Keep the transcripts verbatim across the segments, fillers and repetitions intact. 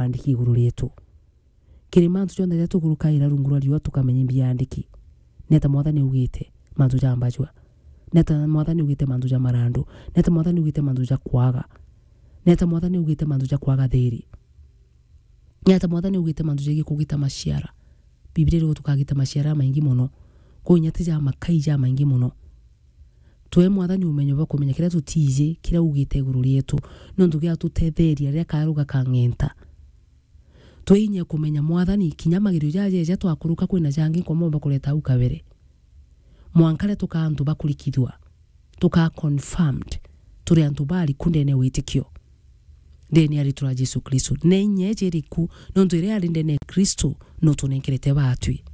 andiki iguru rietu. Kiri mantu jonthe jaria tukurukaira rungu rwa riua tukamenya imbi ya andiki. Neta Mwathani ugite mantu ja mbajua? Neta Mwathani ugite mantu ja marandu? Neta Mwathani ugite mantu ja kwaga? Neta Mwathani ugite mantu ja kwaga thiri? Neta Mwathani ugite mantu jegii kugita maciara? Biblia iriuga tukagita maciara jamaingi mono. Kwinya ti ja makai jamaingi mono. Twe Mwathani umenyo bwa kumenya kiria tutiji, kiria ugite iguru rietu, nontu giatutetheria riria karu gakang'enta. Twe inya kumenya Mwathani, kinya magerio jaja ja twakuruka kwina jangi nkomomba kureta au kabere. Mwanka riria tukaa antu bakurikithua, tukaa confirmed turi antu bariku ndene ya witikio, ndene ya ritwa ria Jesu Kristo. Na inya iji iriku? Nontu iria yari ndene ya Kristo no tunenkerete batwi.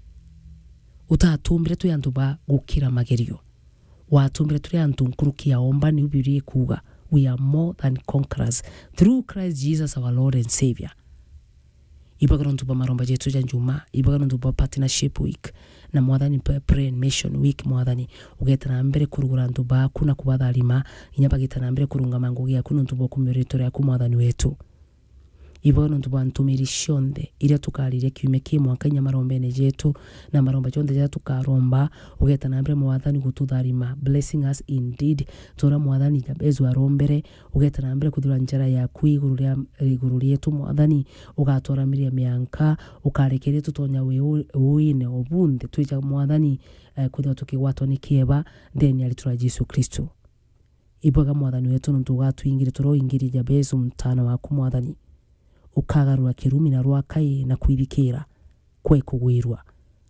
Utatumbire twi antu ba gukira magerio. Watumbire turi antu nkuruki ya omba, niu Biblia ikuuga, "We are more than conquerors through Christ Jesus our Lord and Saviour." Ibaga nontu bwa maromba jetu ja njuma, ibaga nontu bwa partnership week, na Mwathani, pa-, prayer and mission week, Mwathani, ugeta na mbere kurugura antu baku na kubatharima, inya bageta na mbere kurungama ngugi yaku nontu bwa kumia ritwa riaku, Mwathani wetu. Ibaga nontu bwa ntumiri cionthe iria tukariria kiumia ki mwanka inya marombene jetu, na maromba jonthe jaria tukaromba, ugeta na mbere, Mwathani, gututharima, blessing us indeed, ta uria Mwathani Jabezu arombere, ugeta na mbere kuthura njara yaku iguru ria, iguru rietu, Mwathani, ugatwaramiria mianka, ukarekeria tutonya wi-, uine o bunthe, twija, Mwathani, eh, kwithirwa tukigwatwa ni kieba, ndene ya ritwa ria Jesu Kristo. Ibwega, Mwathani wetu, nontu ugatwingire turia uingirie Jabezu mtaana waku, Mwathani. Ukagarura kirumi na rwakai na kwithikira, kwe kugwirua,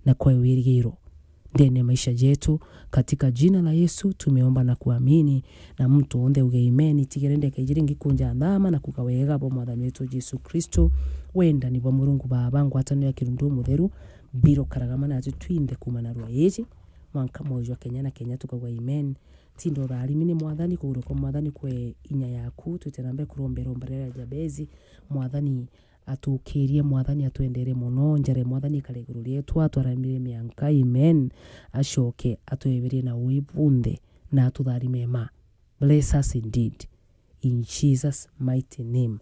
na kwe wirigiro ndene ya maisha jetu. Katika jina la Yesu tumeomba na kuamini, na mtu onthe uge amen. Tigere ndeka iji ringi kunja nthama na kuga wega bwa Mwathani wetu Jesu Kristo, wendani bwa Murungu Baba, ngwataniro ya Kirundu Mutheru, biro karagama natu twinthe kuuma narua iji mwanka mwoyo jwa kenya na kenya, tukauga amen. Tinda utharimi ni Mwathani, kuguru kwa Mwathani kwe inya yaku, twite na mbere kuromba iromba riria ria Jabezi. Mwathani atukirie, Mwathani atwendere mono, njara ya Mwathani ikare iguru rietu, atwaramire mianka, amen. Acoke atweberie na ui bunthe, na atutharime ma. Bless us indeed, in Jesus' mighty name.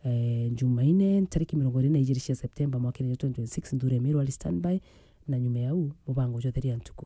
Eh, Jumaine, ntariki mirongo iri na ijiri cia September, mwaka twenty twenty-six, Nthure Meru ari standby, na nyuma ya u, mubango jwa Theria Ntuku.